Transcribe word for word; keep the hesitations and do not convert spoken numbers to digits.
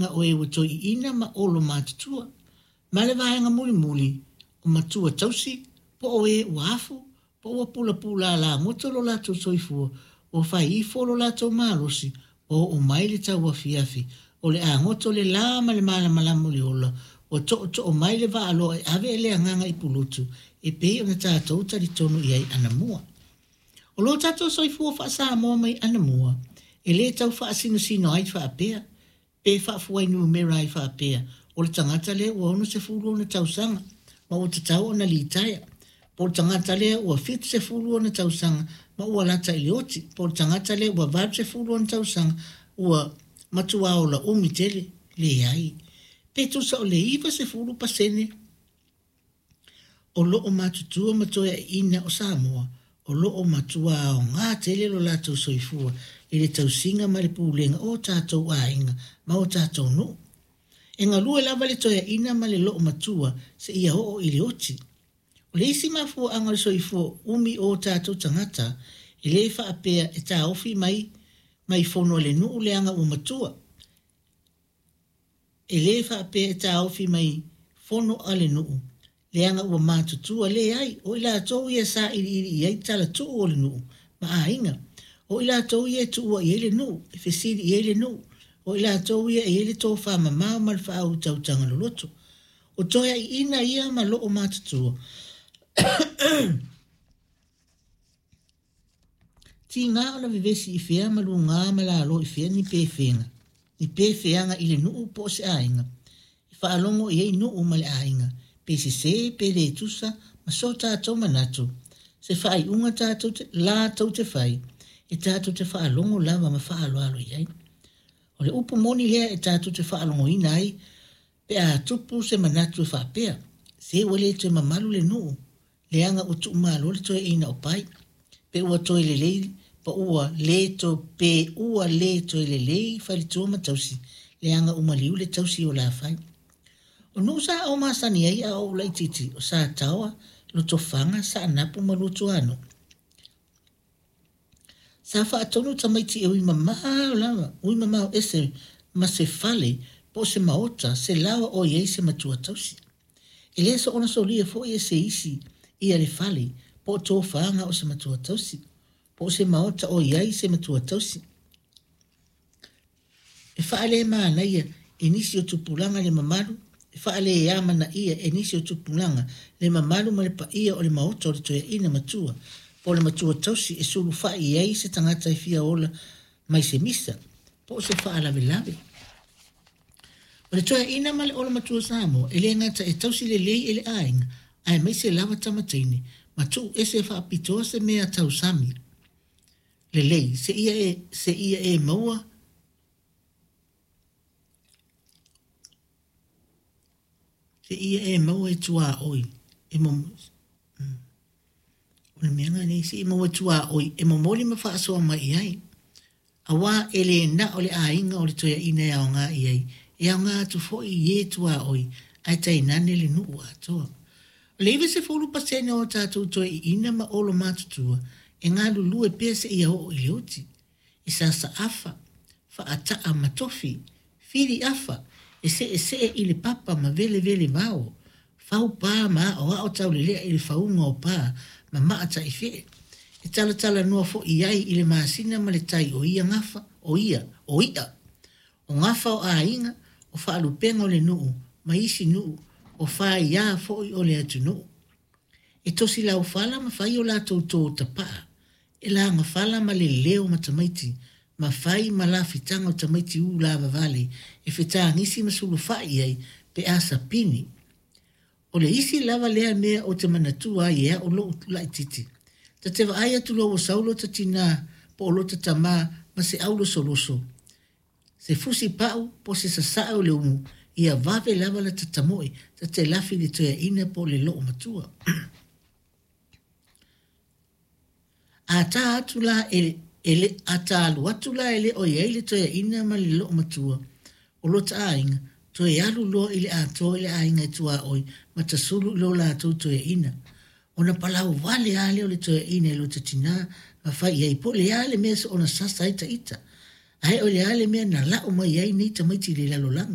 o e ua toeaiina ma olo matutua, ma le vaega mulimuli o matua tausi po o e ua afu po ua pulapula alagoto lo latou soifua ua fai ifo lo latou malosi ua oo mai le tauafiafi o le a goto le la ma le malamalama o le ola ua tootoo mai le vaaloa e ave le agaga i Pulotu e pei ona tatou talitonu i ai anamua. O lo tatou soifua faa-Samoa mai anamua e lē tau faasinosino ai faapea pe faafuainumera ai faapea o le tagata lea ua onosefulu ona tausaga ma ua tatau ona litaea, po o le tagata lea ua fitusefulu ona tausaga ma ua lata i le oti, po o le tagata lea ua valusefulu ona tausaga ua matuā ola umi tele. Leai, pe tusa o le ivasefulu pasene o loo matutua ma toeaiina o Samoa o loo matuā aogā tele lo latou soifua i le tausiga ma le pulega o tatou aiga ma o tatou nuu. E galue lava le toeaina ma le loomatua seia oo i le oti. O le isi mafuaaga o le soifua umi o tatou tagata e lē faapea e taofi mai mai fono a le nuu leaga ua matua. E lē faapea e taofi mai fono a le nuu leaga ua matutua. Leai, o i latou ia e sailiili i ai talatuu o le nuu ma aiga. O i latou ia e tuua i ai le nuu, e fesili i ai le nuu. O i latou ia e i ai le tofamamao ma le faautautaga loloto. O toeaiina ia ma loo matutua tiga ona vevesi i fea ma lugā ma lalo i fea ni pefega ni pefeaga i le nuu po o se aiga e faalogo i ai nuu ma le aiga pe sesē pe lē tusa ma so tatou manatu se faaiuga tatou te latou te fai e tatou te faalogo lava ma faaaloalo i ai. O le upu moni lea e tatou te faalogoina ai pe a tupu se manatu e faapea, se ua le toe mamalu le nuu leaga ua tuumalo le toeaina o Pai, pe ua toe lelei pa ua lē to pe ua lē toe lelei faletua ma tausi leaga ua maliu le tausi o Lafai. O nuu sa ou masani ai a o ou laitiiti o Sataoa, Lotofaga, Saanapu ma Luatuanuu. Sa faatonu tamaiti e ui mamao lava, ui mamao ese ma se fale po o se maota se laoa o i ai se matua tausi. E lē soona solia foi e se isi ia le fale po o tofaga o se matua tausi po o se maota o i ai se matua tausi. E faalemanaia e nisi o tupulaga le mamalu, e faaleamanaia e nisi o tupulaga le mamalu ma le paia o le maota o le toeaina matua po o le matua tausi e sulufai i ai se tagata e fia ola mai se misa po o se faalavelave. O le toeaina ma le olo matua Samoa e lē gata e tausi lelei e le aiga aemaise lava tama teine ma tuu ese faapitoa se mea tausami lelei seia e seia e maua seia e maua e tuaoi e mom, o le mea lenei seia maua e tuaoi e momoli ma faasoa mai i ai. Auā e lē na o le aiga o le toeaina e aogā i ai, e aogā atu foi i e tuaoi ae tainane le nuu atoa. O le ivasefulu pasene o tatou toeaiina ma olo matutua e galulue pea seia oo i le oti. E sasaafa, faataa ma tofi, fili afa, e seesee i le papa ma velevele vao, fau pā ma aoao taulelea i le fauga o pā ma maa taifee. E talatalanoa foi i ai i le masina ma le tai o ia gafa, o ia, o i'a, o gafa o aiga, o faalupega o le nuu ma isi nuu, o faiā foi o le atunuu. E tosi laufala ma fai o latou tō tapaa, e lagafala ma le leo ma tamaiti, ma fai ma lafitaga o tamaiti ū lavavale e fetagisi ma sulufai i ai pe a sapini. O le isi lava lea mea ou te manatua ai e au lou laitiiti. Ta te vaai atu loa ua sau lota tinā po o lota tamā ma se aulosoloso, se fusi pau po o se sasae o le umu, ia vave lava lata tamoe ta te lafi i le toeaina po o le loomatua. A tā atu la e, e le, a tā alu atu la e le o i ai le toeaina ma le loomatua o lota aiga, toe alu loa i le atoa i le aiga e tuaoi ma tasulu i lo latou toeaina. Ona palau vale lava lea o le toeaina i lota tinā ma fai i ai po o le a le mea soona sasa ai taita. Ae o le a le mea na lau mai ai nei tamaiti i le lalolagi.